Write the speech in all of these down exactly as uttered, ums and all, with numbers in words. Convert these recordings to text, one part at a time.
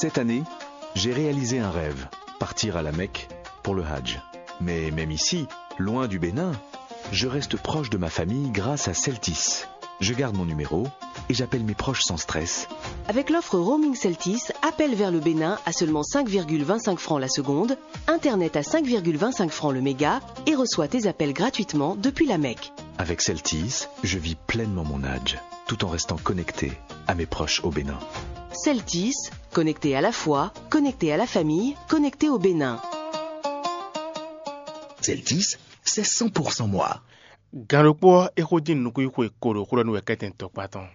Cette année, j'ai réalisé un rêve, partir à la Mecque pour le Hajj. Mais même ici, loin du Bénin, je reste proche de ma famille grâce à Celtis. Je garde mon numéro et j'appelle mes proches sans stress. Avec l'offre roaming Celtis, appel vers le Bénin à seulement cinq virgule vingt-cinq francs la seconde, internet à cinq virgule vingt-cinq francs le méga et reçois tes appels gratuitement depuis la Mecque. Avec Celtis, je vis pleinement mon Hajj, tout en restant connecté à mes proches au Bénin. Celtis, connecté à la foi, connecté à la famille, connecté au Bénin. Celtis, c'est cent pour cent moi. Gan ɖokpó ɔ́, é xo dín nukúnxwe ko ɖo xó ɖɔ nú wɛ kɛ́tɛn tɔkpá tɔn.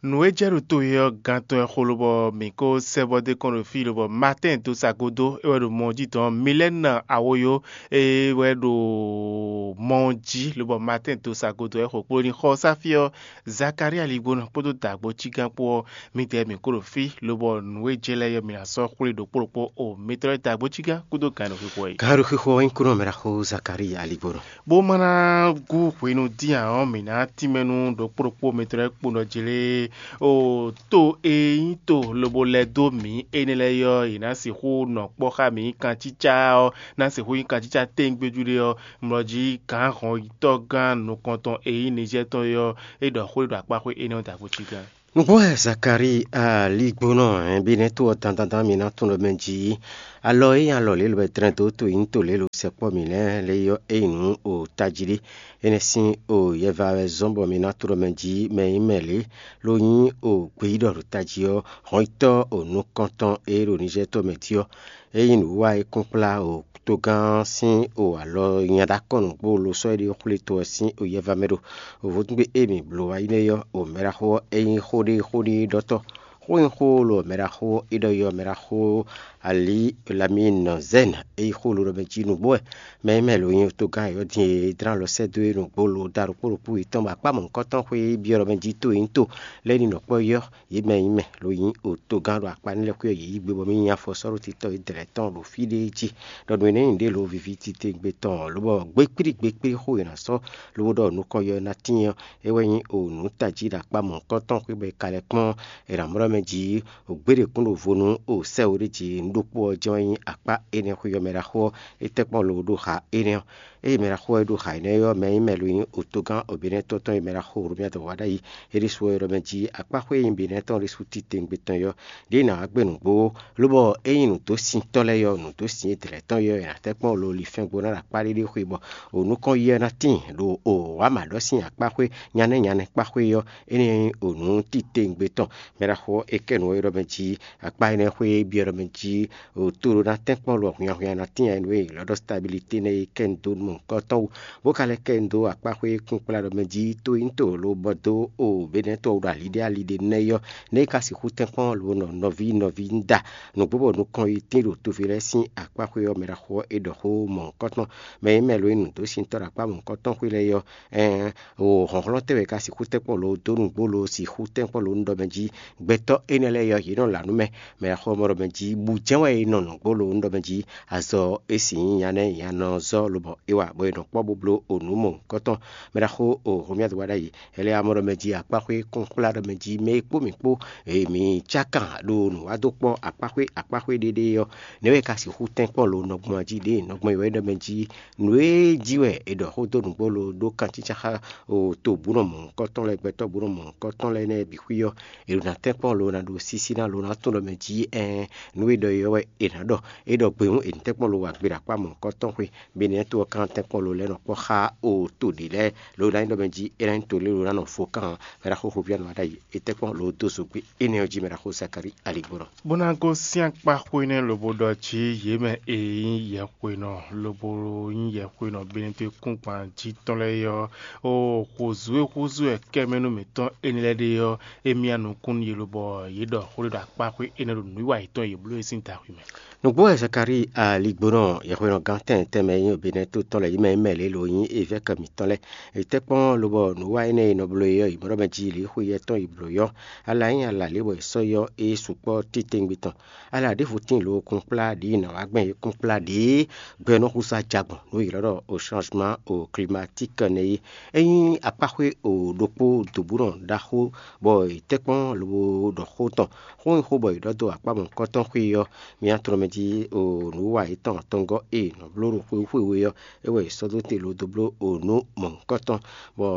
Nǔ e jɛ ɖo to e ɔ́ gán tɔn wɛ xo lobɔ mǐ ko sɛ́ bɔ dó kɔn ɖo fí lobɔ Maatɛ́n dó sa gúdo é wɛ ɖo mɔ ɔ́ jí dɔn Milɛ́na Awoyo é wɛ ɖo mɔ ɔ́ jí lobɔ Maatɛ́n dó sa gúdo wɛ xo kpló ní xɔ sáfí ɔ́. Zakalíi aligbónɔ kpódó dǎgbó cígán kpó ɔ́, midɛɛ mǐ kó ɖo fí lobɔ nǔ e jɛ lɛ́ɛ ɔ́ mǐ ná sɔ́ xwlé ɖokpó ɖokpó o mitɔ́ lɛ́ɛ dǎgbó cígán kúdó gǎn ɖo xwixwɛ yi. Gǎn ɖo xwixwɛ ɔ́ nyí kúnɔ mɛ ɖaxó Zakalíi aligbónɔ. Bó ma ná gú hwenu dín ǎ ɔ́, mǐ ná tínmɛ nú ɖokpó ɖokpó mitɔn lɛ́ɛ kpo nɔ jlé o to e nyí to lobo lɛ́ dó mǐ énɛ́ lɛ́ɛ é ɔ́, yě ná sixú nɔ kpɔ́ xá mǐ kancícá ɔ́, ná sixú nyí kancícá téŋgbéjú ɖé ɔ́, mlɔ jí gǎn hɔnyitɔ́gán nukɔntɔn e nyí Nizɛ́ɛ tɔn é ɔ́, é ɖɔ xó e ɖo akpáxwé énɛ́ ɔ́ dǎgbó cígán. Nǔgbó wɛ Zakalíi aligbónɔ hɛn bí nɛ́ tó ɔ́ dandandan mǐ ná tunwun ɖɔ mɛ jí alɔ e nyí alɔ lě lobɛ dlɛ́n dó to e nyí to lě lo sɛkpɔ́ mǐ lɛ́ɛ lě ɔ́ é nyí nǔ o tají ɖé. Énɛ́ sín o yɛva wɛ zɔ́n bɔ mǐ ná tunwun ɖɔ mɛ jí mɛ e nyí mɛ lě ló nyí o gbeyíɖɔ ɖo tají ɔ́, hɔnyitɔ́ o nukɔntɔn e ɖo Nizɛ́ɛ tɔn mɛ jí ɔ́, é nyí nǔwiwa e kún kplá o togán ɔ́ sín o alɔ nya ɖó akɔ́ nǔgbó lo sɔ́ éɖée xwlé to ɔ́ sín o yɛva mɛ ɖo. O vodúngbe e mǐ bló wá yi nɛ́ ɔ́, o mɛɖaxó ɔ́ é nyí xó ɖé xó ɖé ɖɔtɔ́. Xó nyí xó lo mɛɖaxó é ɖɔ yi ɔ́, mɛɖaxó Ali Lamine Zɛn é nyí xó lo ɖɔ mɛ jí nǔgbó wɛ. Mɛ e mɛ lo nyí togán yɔ̌din e dlán lɔ sɛ́ dó é nǔgbó lo da ɖokpó ɖokpó yětɔn bɔ akpá mɔ̌hunkɔtɔn xwé byɔ́ ɖɔ mɛ jí to e nyí to lɛ́ɛ ní nɔ kpɔ́ yi ɔ́, yě mɛ e nyí mɛ lo nyí o togán ɖo akpá ní lɛ́ xwé ɔ́, yě yí gbe bɔ mì nyi afɔ sɔ́ ɖó titɔ e dlɛ̌ tɔn ɖo fí ɖé jí, ɖɔ nǔ énɛ́ nyí ɖě lo víví titewungbe tɔn ɔ́, lobɔ gbékplí gbékplí xó e è nǎ sɔ́ lobo ɖɔ nukɔn yɔ ná tíin ɔ́, é wɛ nyí o nǔ tají ɖo akpá mɔ̌hunkɔtɔn xwé bɔ è ka lɛ́ kpɔ́n è nǎ mlɔ́ mɛ jí o gbéɖekún ɖo vo nú o sɛ́ we ɖé jí nǔ ɖokpó ɔ́ jɛ́n wɛ nyí akpá énɛ́ xwé ɔ́ mɛ ɖaxó ɔ́, é tɛ́ kpɔ́n lo ɖó xa énɛ́ ɔ́. Ée mɛ ɖaxó ɔ́ ɖo xa énɛ́ ɔ́, mɛ e nyí mɛ lo nyí otogán Obɛ́nɛ́tɔ́ tɔn e mɛ ɖaxó Hlomyádu wá ɖ'ayǐ é ɖésú ɔ́, é ɖɔ mɛ jí akpáxwé e nyí Benɛ́ tɔn ɖésú titewungbe tɔn é ɔ́, ɖěe nǎ wá gbe nǔgbó ó, lobɔ é nyí nǔdósintɔ́ lɛ́ɛ ɔ́, nǔdósin e dlɛ̌ tɔn é ɔ́, è nǎ tɛ́ kpɔ́n lo linfɛ́ngbó ná ɖo akpá ɖé ɖé xwe bɔ o nukɔn yi ɔ́ ná tíin ɖo o wǎ mǎ ɖɔ sín akpáxwé nyánɛ́ nyánɛ́ kpáxwé ɔ́, énɛ́ nyí o nǔ titewungbe tɔn. Mɛ ɖaxó ɔ́, é kɛ nǔ ɔ́ é ɖɔ mɛ jí akpá énɛ́ xwé é byɔ́ ɖɔ mɛ jí o to ɖó ná tɛ́nkpɔ́n lɔ hwinnyahwinnya ná tíin nú e lɔ̌ɖɔ stabilité nɛ́ e kɛ́n dó nú mɔ̌hunkɔtɔn wú, bó ka lɛ́ kɛ́n dó akpáxwé e kún kplá ɖɔ mɛ jí tó nyí to lo bɔ dó o Benɛ́tɔ́ ɖo ali ɖé ali ɖé nɛ́ yɔ́, nɛ́ é ka sixú tɛ́nkpɔ́n lo nɔ nɔví nɔví nda nǔgbó bɔ nukɔn yi tín ɖo toví lɛ́ɛ sín akpáxwé ɔ́, mɛ ɖaxó ɔ́ é ɖɔ xó mɔ̌hunkɔtɔn. Mɛ e mɛ lo e nǔ dó sin tɔ́ ɖo akpá mɔ̌hunkɔtɔn xwé lɛ́ɛ yɔ́, ɛɛn, o hlɔ̌nhlɔ́n tɛ́ wɛ ka sixú tɛ́nkpɔ́n lo dó nǔgbó lo sixú tɛ́nkpɔ́n lo nú ɖɔ mɛ jí gbɛtɔ́ énɛ́ lɛ́ɛ yɔ́, yě nɔ là nú mɛ. Mɛ e xɔ mɔ ɖɔ mɛ jí bǔ jɛ́n wɛ è nɔ nǔgbó lo nú ɖɔ mɛ jí azɔ e sin nyí nya nɛ́ nya nɔ zɔ́ lobɔ é wa bɔ è nɔ kpɔ́ bó bló o nǔ mɔ̌hunkɔtɔn. Mɛ ɖaxó o Hlomyádu wá ɖ'ayǐ, Ɛlɛamɔ ɖɔ mɛ jí akpáxwé kún xwlá ɖɔ mɛ jí mɛ e kpó mǐ kpó, e mǐ cákan ɖo nǔ wá dó kpɔ́ akpáxwé akpáxwé ɖéɖé ɔ́, nɛ̌ wɛ è ka sixú tɛ́nkpɔ́n lo nɔgbɔn jí ɖěe nɔgbɔn e wɛ ɖɔ mɛ jí nǔ e jí wɛ è ɖɔ xó dó nǔgbó lo ɖó kancícá xá o to bǔ nɔ mɔ̌hunkɔtɔn lɛ́ɛ, gbɛtɔ́ bǔ nɔ mɔ̌hunkɔtɔn lɛ́ɛ nɛ́ bǐ xwí ɔ́, è ɖo ná tɛ́nkpɔ́n lo ná ɖo sísí ná lo ná tunwun ɖɔ mɛ jí ɛɛn nǔ e ɖɔ é ɔ́ wɛ è nǎ ɖɔ. É ɖɔ gbe hǔn è nǐ tɛ́nkpɔ́n lo wa gbe ɖo akpá mɔ̌hunkɔtɔn xwé, bɔ è nǐ to ɔ́ kan tɛ́nkpɔ́n lo lɛ́ nɔ kpɔ́ xá o to ɖě lɛ́ɛ lo ná nyí ɖɔ mɛ jí é ná nyí to lé lo ná nɔ fo kan mɛ ɖaxó Hlomyádu wá ɖ'ayǐ. È tɛ́nkpɔ́n lo dó zogbé énɛ́ ɔ́ jí mɛ ɖaxó Zakalíi aligbɔnɔ. Bó ná gosín akpá xwé nɛ́ lobo ɖɔ jí yě mɛ e nyí yɛhwenɔ lobo nyí yɛhwenɔ Benɛ́tɔ́ kúngban jí tɔn lɛ́ɛ é ɔ́, o xozǔ e húzú wɛ kɛ́mɛnú mǐtɔn énɛ́ lɛ́ɛ ɖe ɔ́, é myá nukún nú yě lobɔ yě ɖɔ xó ɖé ɖo akpáxwé énɛ́ ɖo nǔwiwa yětɔn e yě bló é sín daxwi mɛ. Nǔgbó wɛ Zakalíi aligbónɔ yɛhweɖɔgán tɛn tɛnmɛ e nyí Benɛ́to tɔn lɛ́ɛ yi mɛ yi mɛ lě lo nyí évɛ́kɛ mǐtɔn lɛ́ɛ. È tɛ́ kpɔ́n lobɔ nǔ wa énɛ́ e è nɔ bló é ɔ́, yi mɔ ɖɔ mɛ jí lě xwe yɛ tɔn yi blǒ é ɔ́, ala nyí ala lě bɔ è sɔ́ yi ɔ́, é sukpɔ́ titewungbe tɔn. Ala ɖěvo tíin lo kún kplá ɖě yi nǎ wá gbɛn é kún kplá ɖě gbɛ nɔ xúsa jagbɔn nǔ e ylɔ́ ɖɔ au changement au climatique nɛ́ é. É nyí akpáxwé o ɖokpó dobúnɔ ɖaxó bɔ è tɛ́ kpɔ́n lobo ɖɔ xó tɔn. Xó e xó bɔ è ɖɔ dó akpá mɔ̌hunkɔtɔn xwé ɔ́, mì nǎ tlɔ́n mɛ jí o nǔ wa yětɔn atɔngɔ́ e è nɔ bló ɖo xwé xwé we ɔ́, é wɛ è sɔ́ dó te lobo dó bló o nǔ mɔ̌hunkɔtɔn, bɔ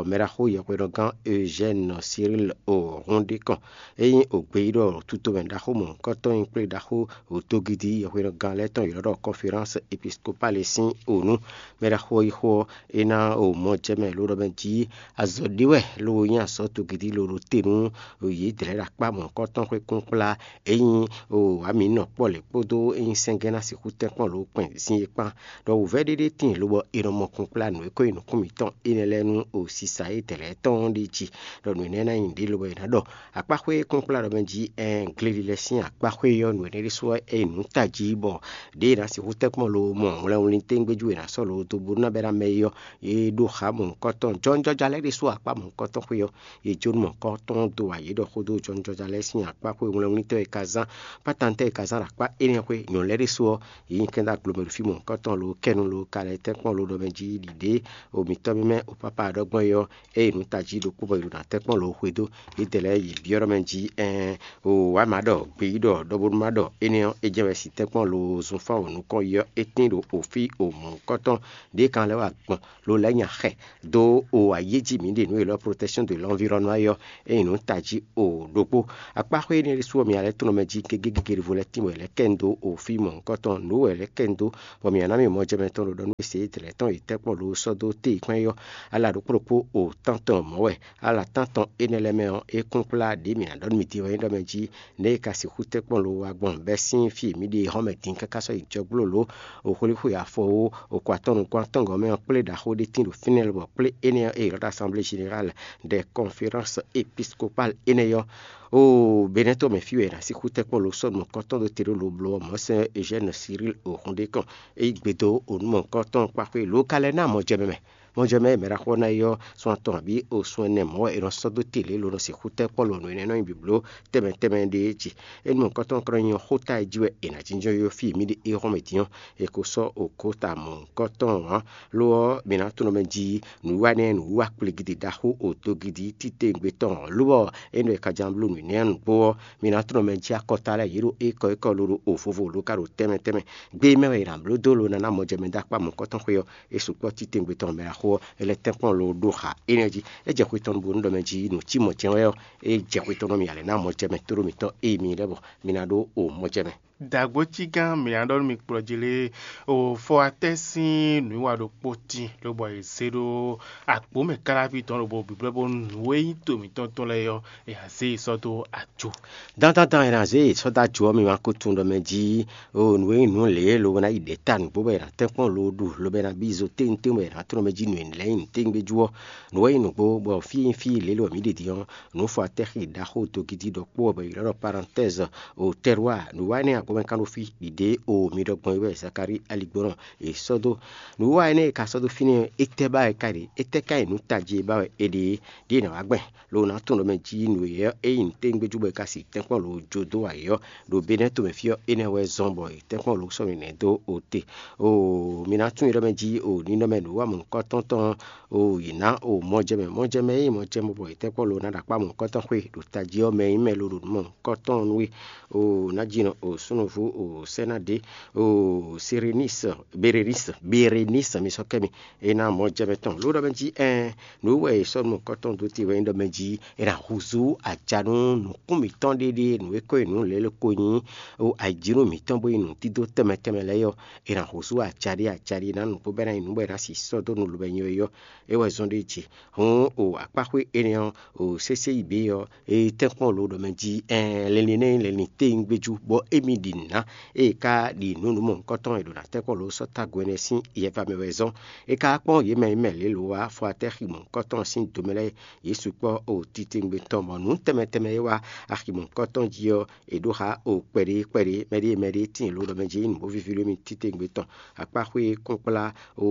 mɛɖaxó yɛhweɖɔgán Eugène Cyril o hun ɖé kɔn. É nyí ògbeyíɖɔ tutomɛ ɖaxó mɔ̌hunkɔtɔn nyí kplé ɖaxó òtogidi yɛhweɖɔgán lɛ́ɛ tɔn ylɔ́ ɖɔ conférence épiscopale sín o nú. Mɛɖaxó ɔ́ yi xó ɔ́, é ná o mɔ jɛ mɛ ló ɖɔ mɛ jí azɔ̌ ɖé wɛ ló nyí azɔ̌ togidi ló ɖo te nú yědɛɛ ɖo akpá mɔ̌hunkɔtɔn xwé kún kplá. É nyí o amǐ nɔ kpɔ́ lě kpódó é nyí sɛ́ngɛ́n ná sixú tɛ́nkpɔ́n lǒ kpɛn zin é kpán. Ɖɔ wǔvɛ́ ɖé ɖé tíin lobɔ è nɔ mɔ kún kplá nǔ e ko nyí nǔkún mǐtɔn énɛ́ lɛ́ɛ nú o sisa édɛɛ lɛ́ɛ tɔn ɔ́ ɖ'é jí. Ɖɔ nǔ énɛ́ ná nyí nǔɖé lobɔ è nǎ ɖɔ akpáxwé kún kplá ɖɔ mɛ jí ɛn gleli lɛ́ɛ sín akpáxwé ɔ́, nǔ énɛ́ ɖésú wɛ é nyí nǔ tají bɔ ɖěe è nǎ sixú tɛ́nkpɔ́n lo mɔ wlɛnwlin téngbéjú è nǎ sɔ́ lo dó bó ná bɛ́ ná mɛ é ɔ́, é ɖó xá mɔ̌hunkɔtɔn jɔnjɔja lɛ́ɛ ɖésú akpá mɔ̌hunkɔtɔn xwé ɔ́, è jó nú mɔ̌hunkɔtɔn dó wa yě ɖɔ xó dó jɔnjɔja lɛ́ɛ sín akpáxwé wlɛnwlíntɔ́ e ka zán kpátantɛ́ e ka zán ɖo akpá énɛ́ xwé nyɔ̌nu lɛ́ɛ ɖésú ɔ́, yě nyi kɛ́n dó aglo mɛ ɖo fí mɔ̌hunkɔtɔn lo kɛ́nu lo ka lɛ́ tɛ́nkpɔ́n lo ɖɔ mɛ jí ɖiɖě omǐtɔn mímɛ́ o pápá ɖɔgbɔn é ɔ́, ée nǔ tají ɖokpó bɔ è ɖo ná tɛ́nkpɔ́n lo xwedó. Yědɛɛ lɛ́ɛ yě byɔ́ ɖɔ mɛ jí ɛɛn o wǎ má ɖɔ gbeyíɖɔ ɖɔ bónú má ɖɔ énɛ́ ɔ́, é jɛ wɛ si tɛ́nkpɔ́n lo zunfán o nukɔn yi ɔ́, é tín ɖo òfí o mɔ̌hunkɔtɔn ɖě kan lɛ́ wá gbɔn lo lɛ́ nya xɛ dó o ayéjí mǐ ɖe nǔ e lɔ protection de l'environnement yɔ é nyí nǔ tají o ɖokpó. Akpáxwé énɛ́ ɖésú ɔ́, mi alɛ́ tlɔ́n mɛ jí gégé gégé ɖěvo lɛ́ɛ tín bɔ è lɛ́ kɛ nu dó o fí mɔ̌hunkɔtɔn nǔ wɛ è lɛ́ kɛ nu dó, bɔ mǐ ná mì mɔ jɛ mɛ tɔn ɖo ɖɔ nú e se édɛɛ tɔn e tɛ́kpɔ́n lo sɔ́ dó téyǐkpɛ́n é ɔ́, ala ɖokpó ɖokpó o tántɔn mɔ̌ wɛ. Ala tántɔn énɛ́ lɛ́ɛ mɛ ɔ́, é kún kplá ɖě mǐ ná ɖɔ nú mi din wɛ nyí ɖɔ mɛ jí nɛ̌ è ka sixú tɛ́nkpɔ́n lo wa gbɔn bɛ́ sín fí e mǐ ɖe é hɔn mɛ din káká sɔ́ yi jɔgblo lǒ, o xwlíxwe afɔ ó, o ko atɔ́ nukún atɔ́ngɔ́ mɛ ɔ́ kplé ɖaxó ɖé tín ɖo fínɛ́ lobɔ kplé énɛ́ ɔ́, e ylɔ́ ɖɔ assemblée générale des conférences épiscopales énɛ́ ɔ́, o Benɛ́to mɛ fí wɛ è nǎ sixú tɛ́nkpɔ́n lo sɔ́ nukɔntɔn ɖó te ɖó lo bló ɔ́, Mɔ̌sɛn Eugène Cyril o hun ɖé kɔn, é yí gbe dó o nú mɔ̌hunkɔtɔn kpáxwé lǒ ka lɛ́ ná mɔ jɛ mɛ mɛ. Mɔjɛmɛ e mɛ ɖaxó ná yi ɔ́, sun atɔn abǐ o sun ɛnɛ mɔ̌ wɛ è nɔ sɔ́ dó te lě lobo nɔ sixú tɛ́ kpɔ́ lo nǔ énɛ́ nɔ nyi blǐbló tɛnmɛ tɛnmɛ ɖé jí. Énú mɔ̌hunkɔtɔn ka nɔ nyí ɔ́, xóta e jí wɛ è nǎ jínjɔ́n yi ɔ́ fí e mǐ ɖe é hɔn mɛ din ɔ́, è ko sɔ́ òkóta mɔ̌hunkɔtɔn ǎ. Lo ɔ́, mǐ ná tunwun mɛ jí nǔwiwa nɛ́ nǔwiwa kpligidi ɖaxó odogidi titewungbe tɔn ɔ́, lobɔ é nɔ è ka ján bló nǔ énɛ́ nǔgbó ɔ́, mǐ ná tunwun mɛ jí akɔta lɛ́ɛ yě ɖo ékɔ ékɔ loɖo o vovo lo ka ɖo tɛnmɛ tɛnmɛ. Gbe e mɛ wɛ è nǎ bló dó lo ná ná mɔjɛmɛ dó akpá mɔ̌hunkɔtɔn xwé ɔ́, é sukpɔ́ titewungbe tɔn mɛ ɖaxó ɔ́, é lɛ́ tɛ́nkpɔ́n lo ɖó xa énɛ́ jí. É jɛ xwe tɔn bónú ɖɔ mɛ jí nǔ cí mɔ̌ jɛ́n wɛ ɔ́, é jɛ xwe tɔn nú mì ǎ lɛ́ ná mɔjɛmɛ tóɖó mǐtɔn e mi lɛ́ bɔ mi ná ɖó o mɔjɛmɛ. Dǎgbó cí gán mǐ ná ɖɔ nú mi kplɔ́ jí lé, o fɔ atɛ́ sín nǔwiwa ɖokpó tín lobɔ è zé ɖó akpǒ mɛ káláví tɔn lobo bǐblɛ́ bónú nǔ e nyí to mǐtɔn tɔn lɛ́ɛ ɔ́, è nǎ zé yi sɔ́ dó ajo. Dandandan è nǎ zé yi sɔ́ dó ajo ɔ́, mi ma ko tunwun ɖɔ mɛ jí o nǔ e nyí nǔ lě lobo ná yi ɖě ta nǔgbó bɔ è nǎ tɛ́nkpɔ́n lo ɖu lobo è nǎ bí zo téntén bɔ è nǎ tlɔ́n mɛ jí nǔ e lɛ́ nyí nǔ téngbéjú ɔ́. Nǔ e nyí nǔgbó bɔ fí e nyí fí lě lo mǐ ɖe din ɔ́, nǔ fɔ atɛ́xi ɖaxó dogidi ɖɔkpó ɔ́ bɔ è ylɔ́ ɖɔ parantɛ́zɔ o tɛ́rwa nǔ wa énɛ́ agbɔmɛ kan ɖo fí ɖiɖě o mi ɖɔ gbɔn é wɛ Zakalíi aligbɔnɔ è sɔ́ dó. Nǔ wa énɛ́ e ka sɔ́ dó fínɛ́ ɔ́, étɛ́ ba wɛ ka ɖe? Étɛ́ ka nyí nǔ tají e ba wɛ è ɖe é? Ɖěe è nǎ wá gbɛn lo ná tunwun ɖɔ mɛ jí nǔ e ɔ́, é nyí nǔ téngbéjú bɔ è ka si tɛ́nkpɔ́n lo jó dó wǎ é ɔ́, ɖo Benɛ́to mɛ fí ɔ́, énɛ́ wɛ zɔ́n bɔ è tɛ́nkpɔ́n lo sɔ́ nǔ nɛ́ dó o te. O mi ná tunwun ɖɔ mɛ jí o ninɔmɛ nǔ wa mɔ̌hunkɔtɔn tɔn o yě ná o mɔjɛmɛ mɔjɛmɛ e nyí mɔjɛmɛ bɔ è tɛ́nkpɔ́n lo ná ɖo akpá mɔ̌hunkɔtɔn xwé ɖo tají ɔ́ mɛ e nyí mɛ lo ɖo nǔ mɔ̌hunkɔtɔn nú we. O ná jí nɔ o súnnuvu o sɛ́ ná ɖě o Serenise Berenise Berenise mi sɔ́ kɛ mi. É ná mɔ jɛ mɛ tɔn ló ɖɔ mɛ jí ɛn nǔ wɛ è sɔ́ nú mɔ̌hunkɔtɔn dó te wɛ nyí ɖɔ mɛ jí è nǎ húzú aja nú nǔkún mǐtɔn ɖéɖé nǔ e ko nyí nǔ lěle ko nyí o ayǐjínú mǐtɔn bó nyí nǔdídó tɛnmɛ tɛnmɛ lɛ́ɛ ɔ́, è nǎ húzú aja ɖé aja ɖé ná nǔgbó bɔ é ná nyí nǔ bɔ è nǎ sixú sɔ́ dó nǔ lobɛ nyɔ é ɔ́, é wɛ zɔ́n ɖ'é jí. Hǔn o akpáxwé énɛ́ ɔ́, o sésé yi bǐ ɔ́, é tɛ́nkpɔ́n lo ɖɔ mɛ jí ɛn linlin nɛ́ nyí linlin téyín gbéjú bɔ émí ɖi nǔ ná. Ée é ka ɖi nǔ nǔ mɔ̌hunkɔtɔn e ɖo ná tɛ́nkpɔ́n lǒ sɔ́ tagun ɛnɛ sín yɛva mɛ wɛ zɔ́n. É ka kpɔ́n yě mɛ e mɛ lě lo wá Fuatɛ́ xi mɔ̌hunkɔtɔn sín do mɛ lɛ́ɛ, yě sukpɔ́ o titewungbe tɔn, bɔ nǔ tɛnmɛ tɛnmɛ e wá axi mɔ̌hunkɔtɔn jí ɔ́, è ɖó xá o kpɛɖé kpɛɖé, mɛɖée mɛɖée tíin lǒ ɖɔ mɛ jí nyí nǔ bó víví lómi titewungbe tɔn. Akpáxwé kúnkplá o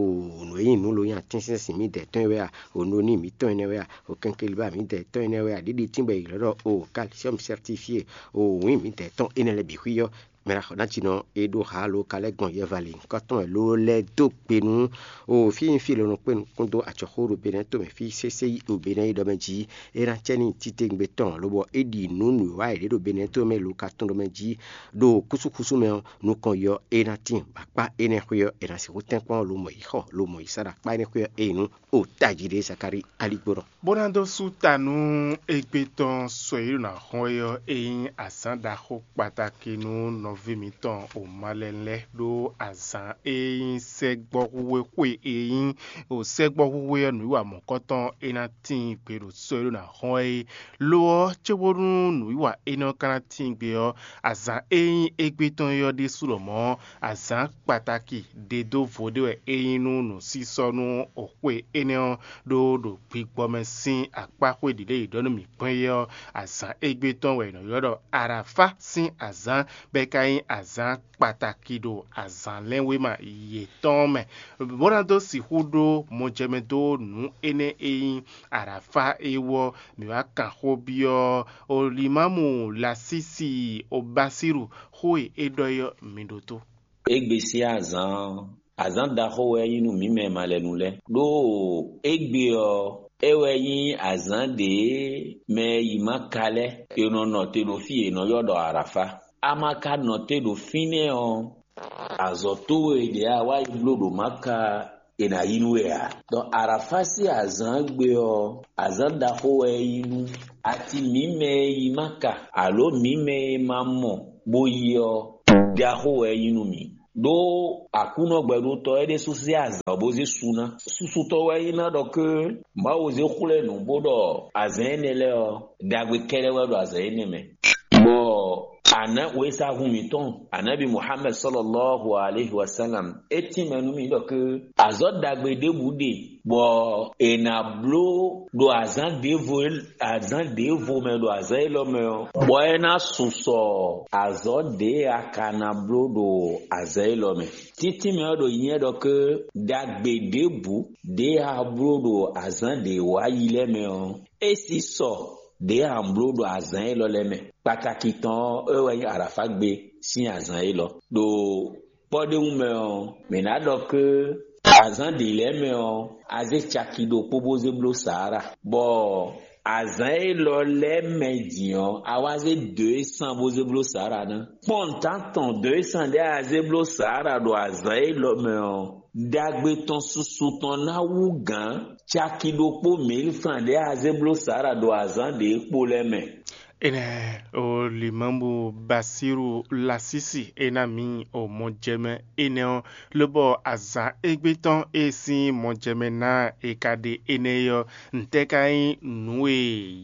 nǔ e nyí nǔ lo nyi atínsɛ́nsìn mǐdɛɛ tɔn e wɛ a, o noni mǐtɔn énɛ́ wɛ a, o kɛnkeliba mǐdɛɛ tɔn énɛ́ wɛ a, ɖiɖi tín bɔ è ylɔ́ ɖɔ o calcium certifié, o wǐn mǐdɛɛ tɔn énɛ́ lɛ́ɛ bǐ xwí ɔ́, mɛ ná xɔ ná cinɔ e ɖó ha lo ka lɛ́ gbɔn yɛvalǐ kɔ́tɔn wɛ ló lɛ́ dó gbe nú o fí nyí fí e lɔ nɔ kpé nukún dó acɔxó ɖo Benɛ́ tomɛ fí sésé yi ɖo Benɛ́ yi ɖɔ mɛ jí é ná cɛ ní titewungbe tɔn, lobɔ é ɖi nǔ nǔwiwa e ɖě ɖo Benɛ́ tomɛ lo ka tɔn ɖɔ mɛ jí ɖo kúsúkúsú mɛ ɔ́, nukɔn yɔ é ná tíin, bɔ akpá énɛ́ xwé ɔ́, è nǎ sixú tɛ́nkpɔ́n lo mɔ yi xɔ lo mɔ yi sá ɖo akpá énɛ́ xwé ɔ́, é nyí nú o tají ɖé Zakalíi aligbónɔ. Bó ná dó sú ta nú égbé tɔn sɔ e ɖo ná xɔ́n é ɔ́, é nyí azǎn ɖaxó kpataki nú nɔví mǐtɔn Omalɛn lɛ́ɛ, ɖó azǎn e nyí sɛ́gbɔ́húhwé xwe e nyí o sɛ́gbɔ́húhwé ɔ́ nǔwiwa mɔ̌kɔtɔn é ná tíin gbe ɖo sɔ e ɖo ná xɔ́n é. Lo ɔ́, cóbónú nǔwiwa énɛ́ ɔ́ ka ná tíin gbe ɔ́, azǎn e nyí égbé tɔn é ɔ́ ɖésú lɔmɔ̌ azǎn kpataki ɖe dó vo ɖé wɛ é nyí nú nǔsísɔ́ nú xwe énɛ́ ɔ́, ɖó ɖo gbigbɔ mɛ sín akpá xwé ɖě e è ɖɔ nú mǐ gbɔn é ɔ́, azǎn égbé tɔn wɛ è nɔ ylɔ́ ɖɔ Arafá sín azǎn, bɔ é ka nyí azǎn kpataki ɖo azǎnlɛ́nwéma yětɔn mɛ, bó ná dó sixú ɖó mɔjɛmɛ dó nǔ énɛ́ e nyí Arafá é wú ɔ́. Mǐ wá kan xó byɔ́ Olimámu Lasísi Obasíru xó e é ɖɔ é ɔ́, mi ɖótó. Égbé sín azǎn ɔ́, azǎn ɖaxó wɛ é nyí nú mǐ mɛ malɛnu lɛ́ɛ. Ɖó égbé ɔ́, é wɛ nyí azǎn ɖě mɛ e yi Maka lɛ́ɛ è nɔ nɔ te ɖo fí e è nɔ ylɔ́ ɖɔ Arafá. A ma ka nɔ te ɖo fínɛ́ ɔ́, azɔ̌ towe ɖě a wá yi bló ɖo Maka è nǎ yi nú we ǎ. Ɖɔ Arafá sín azǎn gbe ɔ́, azǎn ɖaxó wɛ é nyí nú ati mǐ mɛ e yi Maka alo mǐ mɛ e ma mɔ bó yi ɔ́, ɖaxó wɛ é nyí nú mǐ. Ɖó Aklúnɔ gbɛɖótɔ́ é ɖésú zé azǎn ɔ́ bó zé su ná. Susutɔ́ wɛ é nyí ná ɖɔ ké Mawu zé xwlɛ́ nǔ bó ɖɔ azǎn énɛ́ lɛ́ɛ ɔ́, ɖagbe kɛ́ɖɛ́ wɛ ɖo azǎn énɛ́ mɛ. Bɔ a nǎ wěsagun mǐtɔn, Anabi Muhammed sɔlɔlɔhu alehi wasalam, é tínmɛ nú mì ɖɔ ké azɔ̌ ɖagbe ɖěbǔ ɖe, bɔ è nǎ bló ɖo azǎn ɖěvo azǎn ɖěvo mɛ ɖo azǎn élɔ́ mɛ ɔ́, bɔ é ná su sɔ azɔ̌ ɖě a ka ná bló ɖo azǎn élɔ́ mɛ. Títínmɛ ɔ́ ɖo nyɛ ɖɔ ké ɖagbe ɖěbǔ ɖě a bló ɖo azǎn ɖě wá yi lɛ́ɛ mɛ ɔ́, é sí sɔ ɖě a bló ɖo azǎn élɔ́ lɛ́ɛ mɛ. Kpatakí tɔn ɔ́, é wɛ nyí Arafá gbe sín azǎn élɔ́. Ɖo kpɔ́ɖéwú mɛ ɔ́, mǐ ná ɖɔ ké azǎn ɖě lɛ́ɛ mɛ ɔ́, a zé caki ɖokpó bó zé bló Saára, bɔ azǎn élɔ́ lɛ́ɛ mɛ din ɔ́, a wá zé dǒ e san bó zé bló Saára ná. Kpɔ́n nǔtán tɔn dǒ e san ɖé a zé bló Saára ɖo azǎn élɔ́ mɛ ɔ́, ɖagbe tɔn susu tɔn ná wú gǎn caki ɖokpó mǐlfan ɖé a zé bló Saára ɖo azǎn ɖě kpo lɛ́ɛ mɛ. Énɛ́ o Limamu Basíru Lasísi é ná mǐ o mɔjɛmɛ énɛ́ ɔ́, lobɔ azǎn égbé tɔn e sín mɔjɛmɛ ná e ka ɖe énɛ́ é ɔ́, ntɛ́ ka nyí nǔ e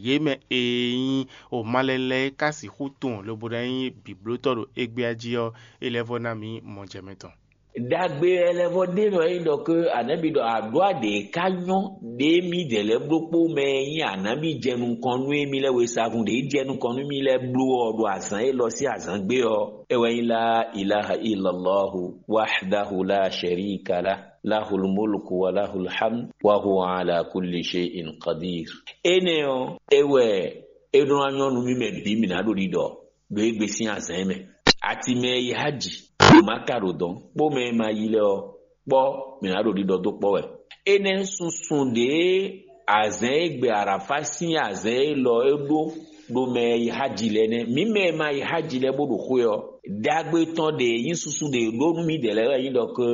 yě mɛ e nyí o malɛlɛ ka sixú tunwun lobo ná nyí bǐblótɔ́ ɖo égbé ɔ́ jí ɔ́, é lɛ́ vɔ́ ná mǐ mɔjɛmɛ tɔn. Ɖagbe lɛ́ vɔ ɖé nɔ nyí ɖɔ ké anɛ́bi ɖɔ aɖó aɖě ka nyɔ́ ɖě mǐdɛɛ lɛ́ɛ bló kpó mɛ e nyí anǎbi jɛ nukɔn nú émí lɛ́ɛ wesagún ɖě jɛ nukɔn nú mì lɛ́ɛ bló ɔ́ ɖo azǎn élɔ́ sín azǎn gbé ɔ́, é wɛ nyí lá ilaha illallahu wahdahu la sharika lah, lahul mulku wa lahul hamd wa huwa ala kulli shay'in qadir. Énɛ́ ɔ́, é wɛ é ɖó ná nyɔ́ nú mì mɛ bǐ mǐ ná ɖo ɖiɖɔ ɖo égbé sín azǎn mɛ. Ati mɛ e yi háji ɖo Maka ɖo dɔ̌n kpó mɛ e ma yi lɛ́ɛ ɔ́ kpɔ́, mǐ ná ɖo ɖiɖɔ dó kpɔ́ wɛ. Énɛ́ sunsun ɖě azǎn e gbe Arafa sín azǎn élɔ́ é ɖó ɖo mɛ e yi háji lɛ́ɛ nɛ́. Mǐ mɛ e ma yi háji lɛ́ɛ bó ɖo xwé ɔ́, ɖagbe tɔn ɖe e nyí susu ɖe e ɖó nú mǐdɛɛ lɛ́ɛ wɛ nyí ɖɔ ké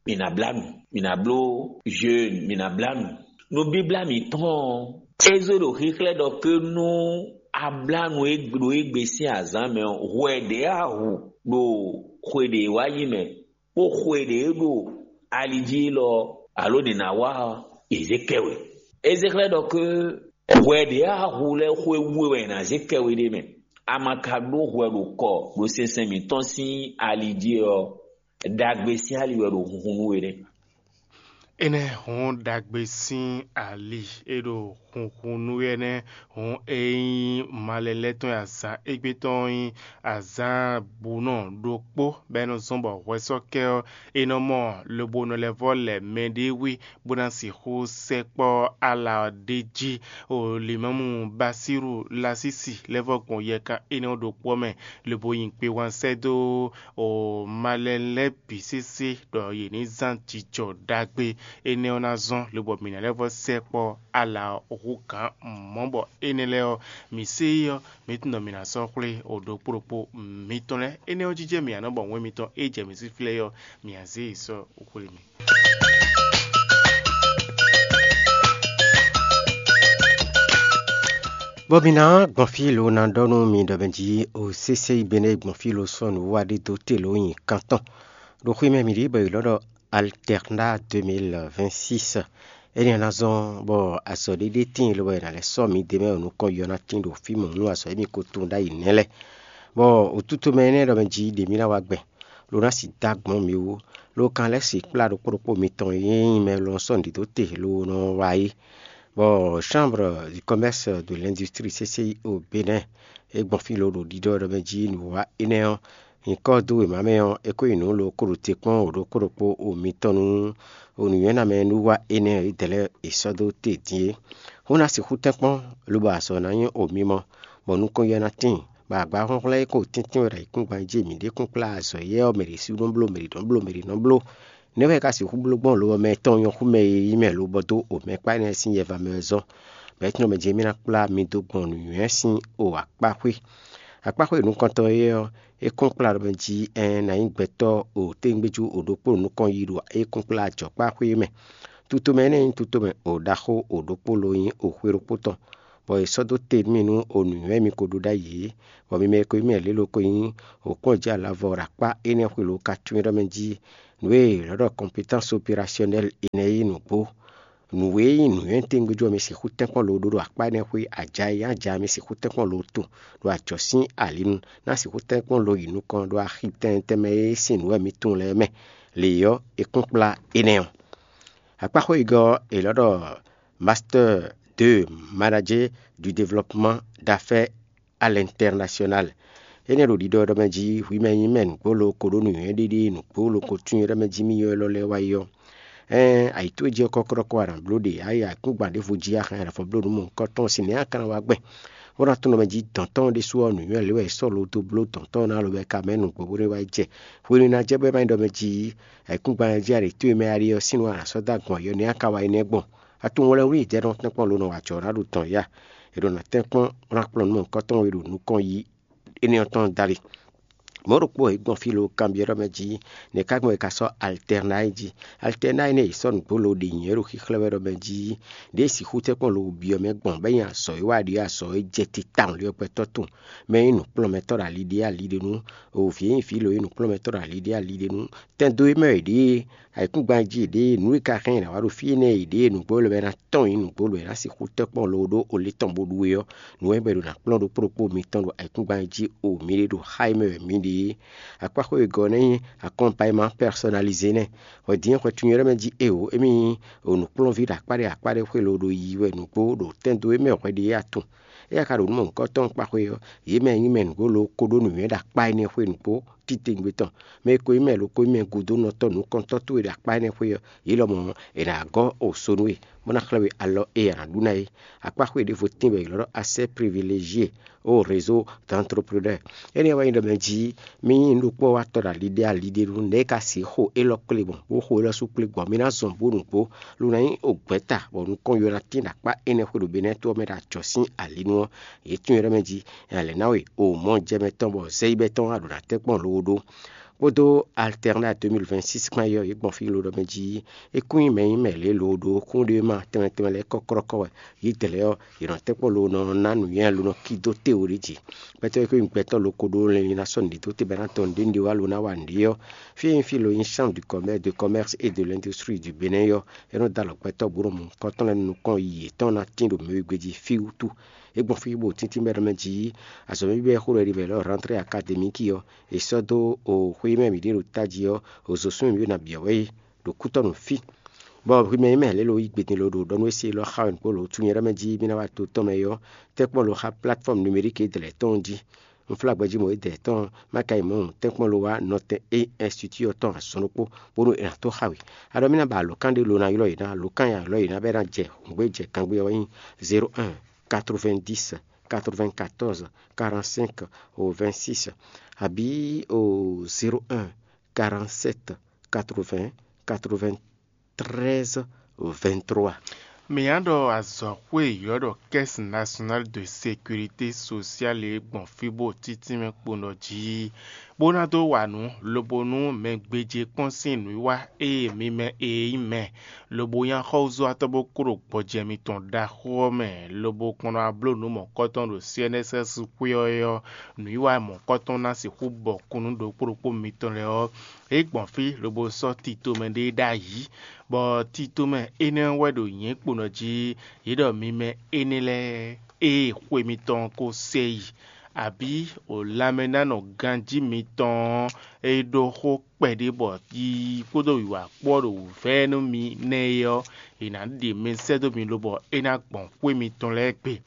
mǐ ná blá nǔ, mǐ ná bló jeûne, mǐ ná blá nǔ. Nǔbíblá mǐtɔn ɔ́, é zé ɖo xíxlɛ́ ɖɔ ké nú a blá nǔ e ɖo égbé sín azǎn mɛ ɔ́, hwɛ ɖě a hu ɖo xwe ɖě wá yi mɛ, kpó xwe ɖě ɖo ali jí élɔ́ alo nǐ ná wa ɔ́, è zě kɛ we. É zé xlɛ́ ɖɔ ké hwɛ ɖě a hu lɛ́ɛ xwe wú e wɛ è nǎ zé kɛ we ɖ'é mɛ. a ma ka ɖó hwɛ ɖo kɔ ɖo sinsɛn mǐtɔn sín ali jí ɔ́, ɖagbe sín ali wɛ ɖo hunhun nú we nɛ́. Énɛ́ hɔn ɖagbe sín ali e ɖo hunhun nú we nɛ́ hɔn e nyí malɛ lɛ́ɛ tɔn e azǎn égbé tɔn nyí azǎn bunɔ ɖokpó bɔ é nɔ zɔ́n bɔ hwɛsɔ́kɛ ɔ́, è nɔ mɔ lobo nɔ lɛ́ vɔ́ lɛ mɛɖé wí bó ná sixú sɛkpɔ́ ala ɔ́ ɖ'é jí. O Limɔ́mu Basíru Lasísi lɛ́ vɔ́ gbɔn yɛkan énɛ́ ɔ́ ɖokpó ɔ́ mɛ, lobo nyi kpewán sɛ́ dó o malɛ lɛ́ɛ bǐ sésé ɖɔ yě ní zán jijɔ ɖagbe énɛ́ ɔ́ ná zɔ́n, lobo mǐ ná lɛ́ vɔ́ sɛkpɔ́ ala ɔ́ hú gǎn mɔ̌ bɔ énɛ́ lɛ́ɛ ɔ́, mǐ sé yi ɔ́, mǐ tunwun ɖɔ mǐ ná sɔ́ xwlé o ɖokpó ɖokpó mitɔn lɛ́ɛ. Énɛ́ ɔ́ jijɛ mǐ ǎ nɔ bɔ wɛn mitɔn e jɛ mǐ sí flɛ́ é ɔ́, mǐ ná zé yi sɔ́ xwlé mì. Bɔ mǐ ná gbɔn fí lo ná ɖɔ nú mi ɖɔ mɛ jí o sésé yi bɛnɛ gbɔn fí lo sɔ́ nǔwiwa ɖé dó te lo nyi kan tɔn ɖo xwé mɛ mǐ ɖíe bɔ è lɔ́ ɖɔ Alterna deux mille vingt-six. Énɛ́ ná zɔ́n bɔ azɔ̌ ɖé ɖé tíin lobɔ è nǎ lɛ́ sɔ́ mǐ d'é mɛ ɖo nukɔn yɔ ná tíin ɖo fí mɔ̌ nú azɔ̌ e mǐ ko tunwun ɖ'ayǐ nɛ́ lɛ́ɛ. Bɔ òtútomɛ énɛ́ ɖɔ mɛ jí ɖě mì ná wá gbɛn, lo ná sixú dó agbɔ̌n mǐ wú, lo kan lɛ́ sixú kplá ɖokpó ɖokpó mitɔn e nyí mɛ lɔ sɔ́ nǔɖiɖó te lo nɔ wa é. Bɔ Chambre du Commerce de l'Industrie C C I au Bénin é gbɔn fí lo ɖo ɖiɖɔ ɖɔ mɛ jí nǔwiwa énɛ́ ɔ́, nyǐkɔ dó wěma mɛ ɔ́, é ko nyi nǔ lo ko ɖo te kpɔ́n wǒ ɖokpó ɖokpó o mitɔn nú o nǔnywɛ́namɛ nú wa énɛ́ e dɛ̌ lɛ́ɛ è sɔ́ dó te din é. Xó ná sixú tɛ́nkpɔ́n, lobo azɔ̌ ná nyí o mimɔ, bɔ nukɔn yɛ ná tíin, bɔ agba hlɔ́nhlɔ́n e ko tɛ́ntin wɛ ɖo ayǐkúngban jí mǐ ɖe kún kplá azɔ̌ éyɛ́ ɔ́, mɛ ɖě sú nɔ bló, mɛ ɖě nɔ bló, mɛ ɖě nɔ bló. Nɛ̌ wɛ é ka sixú bló gbɔn lo ɔ́ mɛ tɔn nyɔ́ xú mɛ e nyí mɛ lobɔ dó o mɛ kpá énɛ́ sín yɛva mɛ ɔ́ zɔ́n? Bɔ é tunwun mɛ jí émí ná kplá mi dó gbɔn nǔnywɛ́ sín o akpáxwé. Akpáxwé nukɔntɔn éyɛ́ ɔ́, é kún kplá ɖɔ mɛ jí ɛɛn ná nyí gbɛtɔ́ o tégbéjú o ɖokpó nukɔn yí ɖo é kún kplá jɔ̌kpáxwé é mɛ. Tutomɛ énɛ́ nyí tutomɛ o ɖaxó o ɖokpó lo nyí o xwé ɖokpó tɔn, bɔ è sɔ́ dó te nú mì nú o nǔnywɛ́ mi ko ɖó ɖ'ayǐ é, bɔ mi mɛ e ko nyí mɛ lě lo ko nyí o kpɔ́n jǐ alavɔ ɖo akpá énɛ́ xwé lo ka tunwun ɖɔ mɛ jí nǔ e è nɔ ɖɔ kɔnpetánsi operasyɔnɛ́li énɛ́ é nǔgbó. Nǔ e nyí nǔnywɛ́ tɛ́ngbéjú ɔ́, mi sixú tɛ́nkpɔ́n lo ɖó ɖo akpá énɛ́ xwé aja e nyí aja mi sixú tɛ́nkpɔ́n lo tun ɖo ajɔ̌ sín ali nu, ná sixú tɛ́nkpɔ́n lo yi nukɔn ɖo axi tɛnmɛ tɛnmɛ e sín nǔ wɛ mi tunwun lɛ́ɛ mɛ. Lě ɔ́, è kún kplá énɛ́ ɔ́. Akpáxwé yigɔ́ ɔ́, è lɔ́ ɖɔ Master deux, Manager du Développement d'Affaires à l'International. Énɛ́ ɖo ɖiɖɔ ɖɔ mɛ jí hwi mɛ nyí mɛ nǔgbó lo ko ɖó nǔnywɛ́ ɖiɖi nǔgbó lo ko tún ɖɔ mɛ jí mì ylɔ́ lɛ́ɛ wá yi ɔ́, ɛɛn ayǐ towe jí ɔ́ kɔ́kɔ́ɖɔ́kɔ́ a nǎ bló ɖe, a yi akúngban ɖěvo jí a hɛn ɖɔ vɔ bló nǔ mɔ̌hunkɔtɔn sín nɛ̌ a ka ná wá gbɛn? Bó ná tunwun ɖɔ mɛ jí dɔ̌n tɔn ɖésú ɔ́, nǔnywɛ́ lě wɛ è sɔ́ lo dó bló dɔ̌n tɔn ɔ́ ná lobɔ é ka mɛ nǔgbó bó ɖé wá yi jɛ. Hwenu e ná jɛ bɔ é ma nyí ɖɔ mɛ jí ayǐkúngban jí a ɖě towe mɛ a ɖe ɔ́ sín nú a nǎ sɔ́ dó agbɔ̌n yɔ nɛ̌ a ka wá yi nɛ́ gbɔn? A tunwun wlɛ́nwlí jɛ́nɔ tɛ́nkpɔ́n lo nɔ wa jɔ̌ ná ɖo dɔn ya. È ɖo nǎ tɛ́nkpɔ́n bó ná kplɔ́n nǔ mɔ̌hunkɔtɔn e ɖo nukɔn yi énɛ́ ɔ́ tɔn dali. Mɔ̌ ɖokpó e gbɔn fí lo kanbyɔ́ ɖɔ mɛ jí nɛ̌ ka gbɔn è ka sɔ́ Altɛrnayi jí? Altɛrnayi nɛ́ è sɔ́ nǔgbó lo ɖe nyǐ é ɖo xíxlɛ́ wɛ ɖɔ mɛ jí ɖěe sixú tɛ́nkpɔ́n lo byɔ́ mɛ gbɔn bɔ é nyí azɔ̌ e wa ɖíe azɔ̌ e jɛ titawun lé ɔ́ gbɛtɔ́ tɔn, mɛ e nyí nǔkplɔ́nmɛtɔ́ ɖo ali ɖé ali ɖé nú, o vǐ e nyí vǐ lo e nyí nǔkplɔ́nmɛtɔ́ ɖo ali ɖé ali ɖé nú, tɛn dó e mɛ è ɖě, ayǐkúngban jí è ɖě, nǔ e ka hɛn è nǎ wa ɖo fí énɛ́ è ɖě, nǔgbó lɛ́ɛ wɛ ná tɔ́n nyi nǔgbó lɛ́ɛ ná sixú tɛ́nkpɔ́n lo ɖó olé tɔn bó ɖu é ɔ́, nǔ wɛ bɔ è ɖo ná kplɔ́n ɖokpó ɖokpó mitɔn ɖo ayǐkúngban jí o mǐ ɖe ɖo xá e mɛ wɛ mǐ ɖe é. Akpáxwé wegɔ́ ɔ́ nɛ́ nyí accompagnement personnalisé nɛ́. Hwɛ din e hwɛ tunwun ɖɔ mɛ jí eo émí nyí nǔkplɔ́nví ɖo akpá ɖé akpá ɖé xwé lo ɖo yiyi wɛ nǔgbó ɖo tɛn dó e mɛ hwɛ ɖe é atun. Éyɛ́ ka ɖo nǔ mɔ̌hunkɔtɔn kpá xwé ɔ́, yě mɛ e nyí mɛ nǔgbó lo ko ɖó nǔnywɛ́ ɖo akpá énɛ́ xwé nǔgbó titewungbe tɔn. Mɛ e ko nyí mɛ lo ko nyí mɛ gúdo nɔ tɔ́ nǔkɔntɔ́ towe ɖo akpá énɛ́ xwé ɔ́, yě lɔmɔ̌ è nǎ gɔ́ o so nú we, bó ná xlɛ́ we alɔ e a nǎ ɖu ná é. Akpá xwé ɖěvo tɛ́nwe wɛ è ylɔ́ ɖɔ asɛ́ privilégié o réseau d'entrepreneurs. Énɛ́ wɛ nyí ɖɔ mɛ jí mì nyí nǔɖokpɔ́watɔ́ ɖo ali ɖé ali ɖé nú nɛ̌ ka sixú xo élɔ́ kplé gbɔn, bó xo élɔ́ sú kplé gbɔn, mi ná zɔn bó nǔgbó, lo ná nyí ogbɛ̌ta, bɔ nukɔn yɔ ná tín ɖo akpá énɛ́ xwé ɖo Benɛ́ɛ to ɔ́ mɛ ɖo ajɔ̌ sín ali nu ɔ́, yě tunwun ɖɔ mɛ jí è nǎ lɛ̌ ná we o mɔ̌ jɛ mɛ tɔn bɔ zɛ́yíbɛ́ tɔn wá ɖo ná tɛ́nkpɔ́n lo ɖó. kpódó Alternat deux mille vingt-six kpán é ɔ́, yě gbɔn fí lodɔ mɛ jí é kún nyí mɛ nyí mɛ lě lo ɖo kúnɖéma tɛnmɛ tɛnmɛ lɛ́ɛ kɔ́kɔ́kɔ́ wɛ. Yědɛɛ lɛ́ɛ ɔ́, yě nɔ tɛ́nkpɔ́n lo nɔ ná nǔnywɛ́ lo nɔ kí dó te wǒ ɖé jí. Gbɛtɔ́ e ko nyí gbɛtɔ́ lo ko ɖó lɛnlin ná sɔ́ nǔɖé dó te bɔ é ná tɔn nǔɖé nǔɖé wá lo ná wa nǔɖé ɔ́, fí e nyí fí lo nyí Chambre du Commerce, de Commerce et de l'Industrie du Bénin ɔ́, é nɔ dó alɔ gbɛtɔ́ bó nɔ mɔ nukɔntɔn lɛ́ɛ nú nukɔn yiyi yětɔn ná tín ɖo mɛ wegbe jí fí wútu. É gbɔn fí bó tíntín bɛ́ ɖɔ mɛ jí azɔ̌ mɛ bíbɛ́ xó ɖɔ ɖi wɛ lɔ rentrée académique ɔ́, è sɔ́ dó o xwé mɛ mǐ ɖe ɖo tají ɔ́, o zǒsún mǐ ɖo nǎ byɔ́ wɛ é ɖo kútɔ́ nǔ fí. Bɔ hwi mɛ e mɛ lě lo yí gbe din lo ɖo ɖɔ nú é se élɔ́ xa wɛ nǔgbó lo tunwun ɖɔ mɛ jí mì ná wá to tɔn mɛ é ɔ́, tɛ́nkpɔ́n lo xa platform numérique e dlɛ̌ tɔn jí. Unflágbɛjí mɔ e dlɛ̌ tɔn má ka yi mɔ̌ tɛ́nkpɔ́n lo wá nɔtɛn e institut ɔ́ tɔn azɔn ɖokpó, bónú è nǎ tó xa we. Aɖɔ mì ná ba alǒkan ɖé lo ná ylɔ́ yě ná, alǒkan e ylɔ́ yě ná bɛ́ ná jɛ hǔngbé jɛ gangbé ɔ́ wɛ nyí zéro un quatre-vingt-dix quatre-vingt-quatorze quarante-cinq au vingt-six, abǐ o zéro un quarante-sept quatre-vingts quatre-vingt-treize vingt-trois. Mǐ ná ɖɔ azɔ̌xwé e ylɔ́ ɖɔ Caisse Nationale de Sécurité Sociale e gbɔn fí bó títínmɛ kpo nɔ jí, bó ná dó wa nǔ, lobo nú mɛ gbéjé kpɔ́n sín nǔwiwa e mi mɛ e nyí mɛ, lobo nyí axɔ́súzɔ́watɔ́ bó kó ɖo gbɔjɛ́ mitɔn ɖaxó ɔ́ mɛ, lobo kplɔ́n wá bló nǔ mɔ̌kɔtɔn ɖo C N S S xwé ɔ́ é ɔ́, nǔwiwa mɔ̌kɔtɔn ná sixú bɔ kún nú ɖokpó ɖokpó mitɔn lɛ́ɛ ɔ́, é gbɔn fí lobo sɔ́ titomɛ ɖé ɖ'ayǐ, bɔ titomɛ énɛ́ ɔ́ wɛ ɖo nyɛ̌ kpo nɔ jí. Yě ɖɔ mi mɛ énɛ́ lɛ́ɛ, ée xwe mitɔn ko sɛ yi, abǐ o lanmɛnánɔ ganjí mitɔn ɔ́, é ɖó xó kpɛɖé bɔ yiyi kpódó wǐwá kpó ɔ́ ɖo wǔvɛ́ nú mi nɛ́ é ɔ́, è nǎ ɖe mɛ sɛ́ dó mi lobɔ é ná gbɔn xwé mitɔn lɛ́ɛ gbe.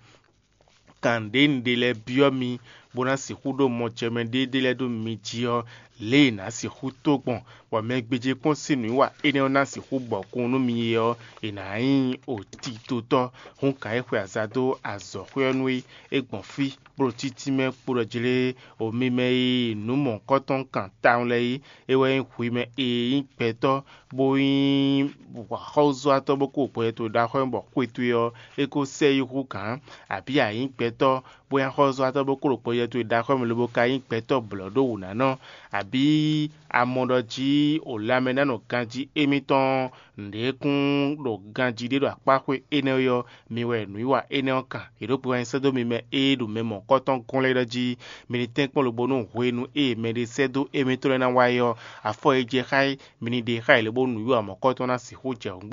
Kan ɖě un ɖe lɛ́ɛ byɔ́ mi, bó ná sixú ɖó mɔjɛmɛ ɖé ɖé lɛ́ɛ ɖó mi jí ɔ́, lě e è nǎ sixú tó gbɔn, bɔ mɛ gbéjé kpɔ́n sín nǔwiwa énɛ́ ɔ́ ná sixú bɔkun nú mi é ɔ́, è nǎ nyí otitotɔ́. Hǔn gǎn e xwe aza dó azɔ̌xwé ɔ́ nú é, é gbɔn fí, bó ɖo títí mɛ kpo ɖɔ jlé, o mi mɛ e nǔ mɔ̌hunkɔtɔn kan tawun lɛ́ɛ é, é wɛ nyí hwi mɛ e nyí gbɛtɔ́, bó nyí axɔ́súzɔ́watɔ́ bó kó gbɔjɛ́ towe ɖó axɔ́ mɛ bɔ xwe towe ɔ́, é kó sɛ yi hú gǎn, abǐ a nyǐ gbɛtɔ́, bó nyí axɔ́súzɔ́watɔ́ bó kó ɖo gbɔjɛ́ towe ɖó axɔ́ mɛ lobo ka nyí gbɛtɔ́ blɔ̌ ɖó wǔ ná nɔ, abǐ a mɔ ɖɔ jí o lanmɛnánɔ ganjí émítɔn nǔɖé kún ɖo ganjí ɖé ɖo akpáxwé énɛ́ ɔ́, mi wɛ nǔwiwa énɛ́ ɔ́ kan. È ɖǒ gbe wá nyi sɛ́ dó mi mɛ e ɖo mɛ mɔ̌kɔtɔn gɔ́n lɛ́ɛ ɖɔ jí mi ní tɛ́nkpɔ́n lobo nú hwenu e mɛɖé sɛ́ dó émítɔn lɛ́ɛ ná wá é ɔ́, afɔ e jɛ xá é, mi ní ɖe xá yě lobónú nǔwiwa mɔ̌kɔtɔn ná sixú jɛ hǔngbé